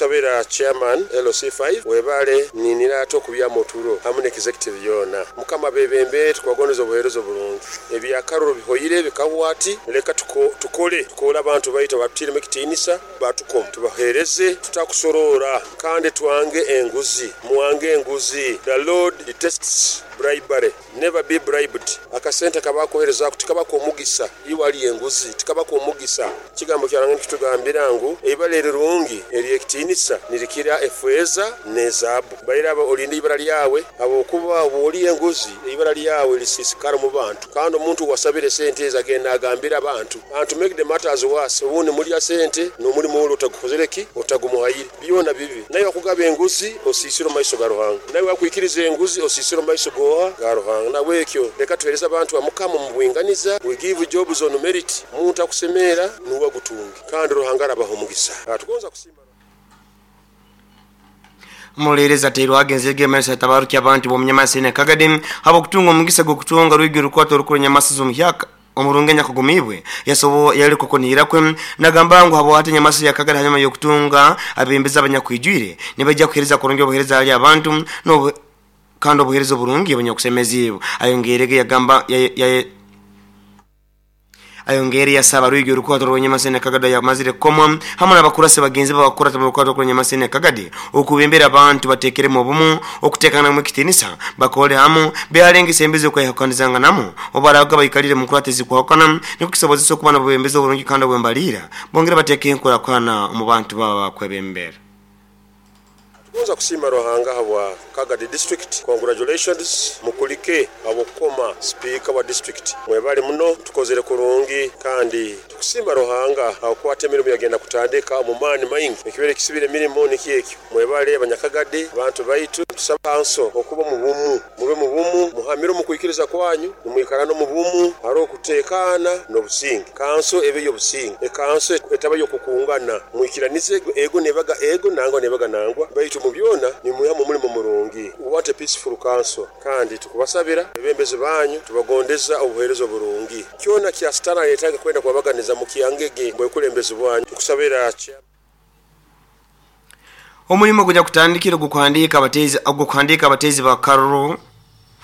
Tukusabira chairman LC5 webale ninira ate okubyamu oturo hamu n'executive yoona. Mukama abebembere, tukubagondeza obuheereza oburungi. Ebyakaruru bihoire bikahwa ati leka tukole, tukole abantu baitu abatutiiremu ekitiinisa batukoma tubaheereze tutakusoroora kandi twange enguzi. Mwange enguzi. The Lord detests bribery. Never be bribed. Akasente kabakuherezaaku tikaba k'omugisa. Iwe alya enguzi tikaba k'omugisa. Ekigambo kya Ruhanga nikitugambira ngu eibara erirungi ery'ekitiinisa nirikira efeeza n'ezaabu. Baire abo olinde eibara lyawe, habwokuba bw'olya enguzi, eibara lyawe lisiisikara omu bantu. Kandi omuntu owasabire sente ezo agenda agambira abantu. And to make the matters worse, obundi mulya sente n'omulimo oli otagukozire ki? Otagumuhaire. Byona bibi. Naiwe akugaba enguzi osiisire omu maiso ga Ruhanga. Naiwe akwikiriza enguzi osiisire omu maiso g'oha? Ga Ruhanga. Nahabwekyo leka tuheereze abantu ba Mukama omu bwinganiza. We give jobs on merit. Omuntu akusemeera nuwe agutunge. Kandi Ruhanga arabaha omugisa. Tugonza kusiima Ruhanga. Omuroleerezi atairwaga enzige emaiso yatabarukya abantu b'omunyamasisi Kagadi habw'okutunga omugisa gw'okutunga rwigi orukwata orukuru enyamaswa z'omuhyaka omurungi anyakugumiibwe yasobo yaleka okunihira kwe nagamba ngu habwati enyamaswa ya Kagadi hanyuma y'okutunga abebembezi abanyakwijwire nibaija kuheereza kurungi obuheereza hali abantu n'obu kandi obuheereza oburungi obunyakusemeziibwe. Ayongeirege yagamba ayongeire yasaba rwigi orukwato rw'enyamaswa Kagadi yamazire kukomwa hamu n'abakurasi bagenzi be abakurata mu rukwato rw'enyamaswa Kagadi okubembera abantu batekeremu obumu okuteekanamu ekitiinisa bakole hamu behalenga embizi okwehakanizanganamu obaraga baikalire mu nkurata ezikwahukana nikwo kisobozesa okuba n'obwebembezi oburungi kandi obwembaliira bongere bateeke enkurakurana omu bantu baba bakwebembera. Tugonza kusiima Ruhanga habwa Kagadi District. Congratulations mukulike habw'okukoma Sipiika wa district. Mwebale muno, tukozere kurungi kandi tukusiima Ruhanga habw'okukwata emirimo yagenda kutandika omu maani maingi. Ekibaire kisibire emirimo nikyo ekyo. Mwebale Abanyakagadi, bantu baitu. Nitusaba kanso okuba omu bumu. Mube mu bumu, muhamire omu kwikiriza kwanyu, nimwikarana omu bumu, haroho okuteekaana n'obusinge. Kanso ebe y'obusinge, ekanso etaba y'okukungana. Mwikiranize, ego nebaga ego, nangwa nebaga nangwa, baitu omu byona nimwihamu omulimo murungi. We want a peaceful council, kandi tukubasabira abebembezi banyu, tubagondeza obuheereza oburungi. Kyona kya Sitaani areetaga kwenda kubabaganiza mukyangege bwekulembezi bwanyu. Tukusabira Chairman. Omulimo ogunyakutandikire ogw'okuhandiika abateezi ogw'okuhandiika abateezi ba karuru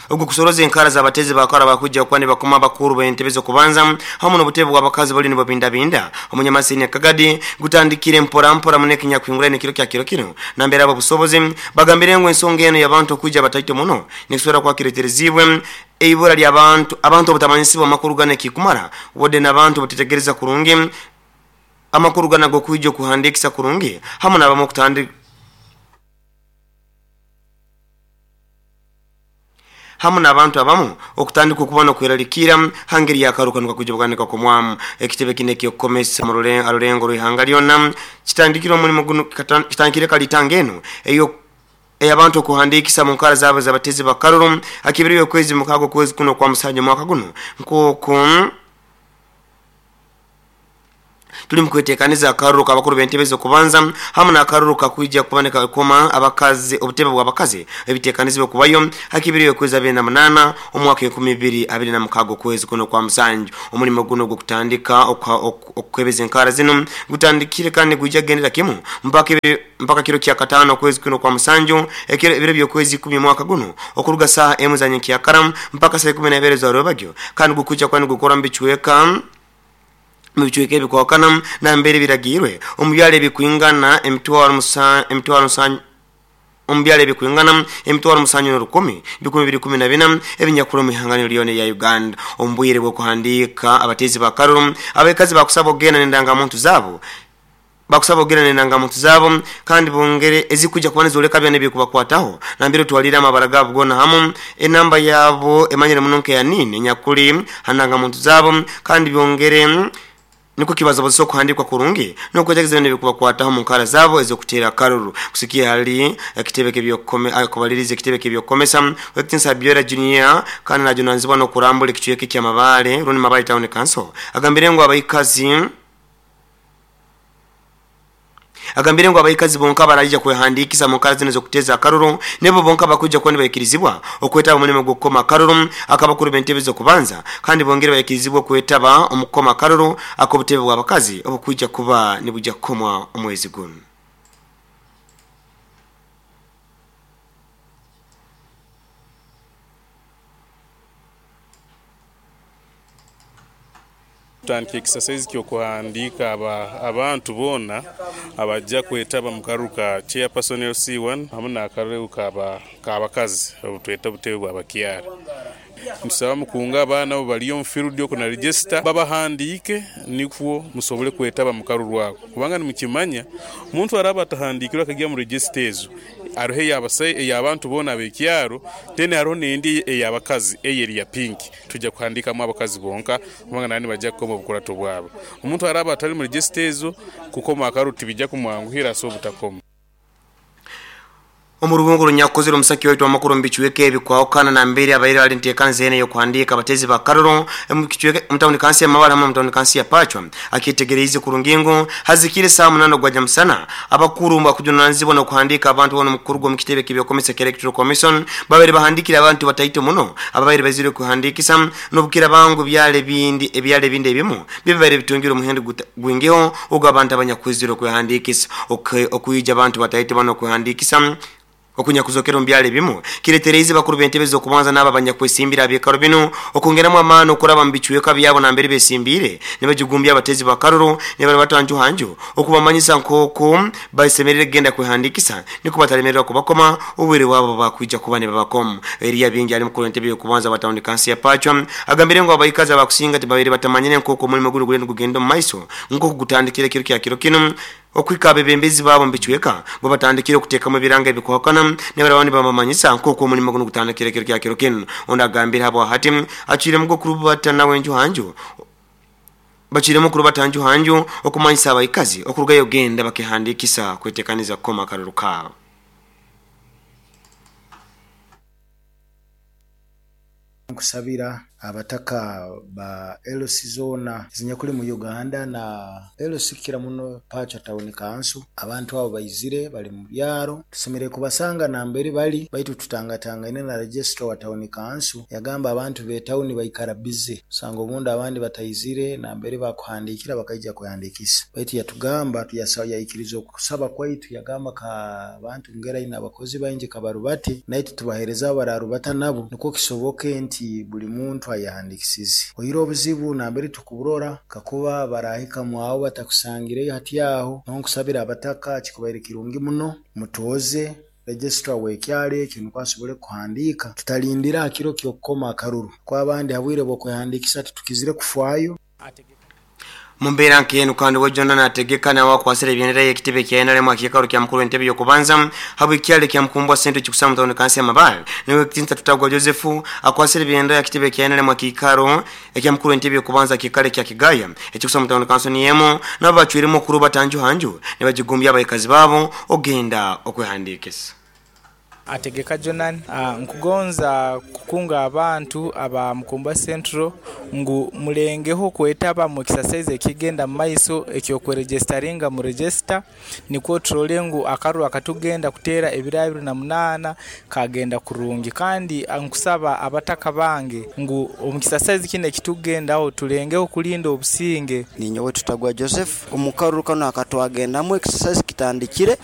ogw'okusoroza enkara z'abateezi ba karuru abakwija kuba nibakoma abakuru b'entebe z'okubanza hamu n'obutebe bw'abakazi bali nibabindabinda omunyamasini Kagadi gutandikire mpora mpora muno ekinyakuhinguraine ekiro kya kiro kinu nambere ab'obusobozi bagambire ngu ensonga enu y'abantu okwija bataito muno nikisobora kuba kiretereziibwe eibura ly'abantu abantu obutamanyisibwa amakuru ganu ekikumara wadde n'abantu obutetegereza kurungi amakuru ganu ag'okwija okuhandiikisa kurungi hamu n'abamu okutandika hamu n'abantu abamu okutandika okuba n'okweralikirra ha ngeri y'akaru kanu kakwija kuba nikakomwamu. Ekitebe kinu eky'okukomesa mu rulengo rw'ihanga lyona kitandikire omulimo gunu kitandikire kalitanga enu eyo ey'abantu okuhandiikisa mu nkara zaabo ez'abatezi b'akaruru ha kibiri y'okwezi mukaaga okwezi kuno okwa musanju omwaka gunu nk'oku tuli mukwetekaniza akaruru k'abakuru b'entebe z'okubanza hamu n'akaruru kakwija kuba nikakoma abakazi obutebe bw'abakazi ebitekanizibwe kubayo ha kibiri y'okwezi 28 omwaka 2026 okwezi kuno kwa musanju. Omulimo guno ogw'okutandika okukwebeza enkara zinu gutandikire kandi gwija kugendera kimu mpaka kiro kya katano okwezi kuno kwa musanju ebiro by'okwezi 10 omwaka guno okuruga saaha emu za nyenkyakara mpaka saa 12 za rwebagyo kandi gukwija kuba nigukora mu bicweka mu bicweka ebikwahukana nambere biragiirwe omu byaro ebikwingana emitwaro musanju omu byaro ebikwingana 701 214 ebinyakura omu ihanga lyona erya Uganda. Omu bwire bw'okuhandiika abateezi ba karuru abakazi bakusaba okugenda n'endangamuntu zaabo bakusaba okugenda n'endangamuntu zaabo kandi bongere ezikuja kuba nizoleka byona ebikubakwataho nambere otwalire amabara gaabo goona hamu enamba yaabo emanyire muno nka ya nini enyakuli ha ndangamuntu zaabo kandi byongere nikwo kibasobozesa okuhandiikwa kurungi n'okwetegeza byona ebikubakwataho mu nkara zaabo ez'okuteera akaruru. Kusikia hali ekitebe kubaliriza ekitebe ky'ebyokukomesa Wekitinsa Abiola Junior kandi najunanizibwa n'okurambura ekicweka eky'Amabaale rundi Mabaale Town Council agambire ngu abaikazi bonka baraija kwehandiikisa mu nkara zinu ez'okuteeza akaruru nibo bonka bakwija kuba nibaikirizibwa okwetaba omulimo gw'okukoma akaruru ak'abakuru b'entebe z'okubanza kandi bongere baikirizibwa okwetaba omu kukoma akaruru ak'obutebe bw'abakazi obukwija kuba nibwija kukomwa omwezi guno. Tutandika exercise ky'okuhandiika abantu boona abajja kwetaba mu karuru ka chairperson LC1 hamu n'akaruru k'abakazi obutweta obutebe bw'abakyara. Ntusaba mukunga abaana abo bali omu field oku na register babahandiike nikwo musobole kwetaba mu karuru ako kubanga nimukimanya omuntu araba atahandiikirwe akagya mu register ezo hariho ey'abantu boona ab'ekyaro then hariho n'endi ey'abakazi eyo eri ya pink tujja kuhandiikamu abakazi bonka kubanga nabo nibajja kukoma obukurato bwabo. Omuntu araba atali mu register ezo kukoma akaruru tibijja kumwanguhira so obutakoma. Omurubungo runyakukozere omusaki waitu amakuru mbichweke ebikwahukana na mbere abaire ali ntekanze ene yokuhandika abatezi ba karoro mukichweke mutawuni kansi ya Mabala hamwe mutawuni kansi ya Pachwa akitegereize kurungingo hazikire saa 8 gwaja musana abakuru mbakujunanzibwa no kuhandika abantu bono mukuru gwo mukitebe kibyokomesa Electoral Commission babere bahandikira abantu bataito muno ababaire bazire kuhandikisa nobukira bangu byale bindi ebyale bindi ebimu bibere bitungira omuhendo gwingeho ogwo abantu abanyakwizire kuhandikisa okuyija abantu bataito bano kuhandikisa okunyakuzokera mbyale bimu kiretereze bakuru bentebeza okubanza naba abanyakwesimbira abekaro bino okongeramu amano okuraba mbichweka byabo na mbere besimbire nibajugumbya abatezi bakaruro nibari batanju hanju okubamanyisa nkoko basemerere genda kwehandikisa niko batalemerera kubakoma ubwire wabo bakwija kuba ne babakomu eria bingi ali mukuru entebe yokubanza batawuni kansi ya Pachwa agambire ngo abayikaza bakusinga tibabere batamanyine nkoko mulimo gulu gulendo gugenda mu maiso nko kugutandikira kiro kya kiro kino okwika abebembezi babo mbichweka bo batandikire okuteka mu biranga ebikuhakana nebarabandi bamamanyisa nkoko omulimo guno gutandikire kiro kya kiro kino onda agambire habo hati achire mugo kurubata nawe nju hanju bachire mukuru batanju hanju okumanyisa abayikazi okurugayo genda bakihandikisa kwetekaniza koma karuru kaabo. Nkusabira abataka ba LC zona zinyakuli mu Uganda na LC kira muno Pachwa Town Council abantu abo baizire bali mu byaro tusemere kubasanga nambere bali baitu tutangatangane na registrar wa Town Council yagamba abantu be town baikara busy sanga obundi abandi bataizire nambere bakuhandikira bakaija kuhandikisa baitu yatugamba tuyasaba okusaba kwaitu yagamba ka abantu ngera ina abakozi baingi kabarubate naitu tubahereza abararubata nabo niko kisoboke nti buli muntu ayahandikisize oyira obuzibu nambere tukuburora kakuba barahika mwawo batakusangireyo hati aho nonkusabira abataka kikubaire kirungi muno mutoze registrar wekyale ekyo niko asobole kuhandika tutalindira akiro kyokukoma akaruru kwa abandi habwire bwokwehandikisa tutukizire kufwayo. Mumbera nkenu kandi wejona nategeka na wakwasira ebyendera y'ekitebe kya NRM akikaro kya mukuru entebe yokubanza habwe kyale kya mkumbwa sento kikusama mutawuni kansi ya Mabale niwe kitinta tutagwa Joseph akwasira ebyendera y'ekitebe kya NRM akikaro ekya mukuru entebe yokubanza kikale kya Kigaya ekikusama mutawuni kansi niyemo nabachwiremo kuruba tanju hanju nibajigumbya abayikazi babo ogenda okwehandikisa. Ategeka Jonan nkugonza kukunga abantu aba Mukumbwa Central ngu mulengeho kwetaba mu exercise ekigenda mu maiso ekyokweregisteringa mu register nikwo turole ngu akaruru akatugenda kutera ebiro 28 kagenda kurungi kandi nkusaba abataka bange ngu omu exercise kine ekitugendaho tulengeho kulinda obusinge. Ninyowe Tutagwa Joseph omukaruru kano akatwagendamu exercise kitandikire.